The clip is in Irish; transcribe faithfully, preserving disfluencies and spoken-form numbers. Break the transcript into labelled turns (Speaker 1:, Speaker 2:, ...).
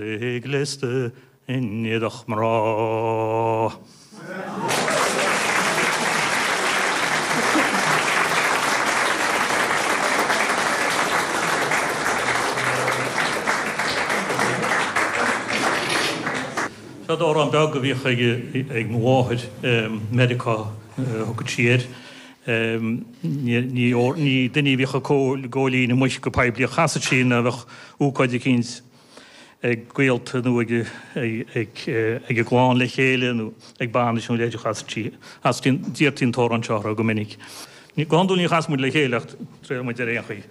Speaker 1: É gléasta in éadach mná. Seo amhrán beag a bhíodh ag mo mháthair, Meiriceá a thugadh sí air. Ní duine a bhíodh ag góilín amuigh go poiblí a chasadh sí nuair a bheadh ócáid eicínt ag gaolta nó ag ag an gclann le chéile nó ag bainis nó a leithéid a chasadh sí. D'iarrtaí an t-amhrán seo orthu go minic. Go hiondúil ní chasann muid le chéile ach triailfidh muid ar aon chaoi.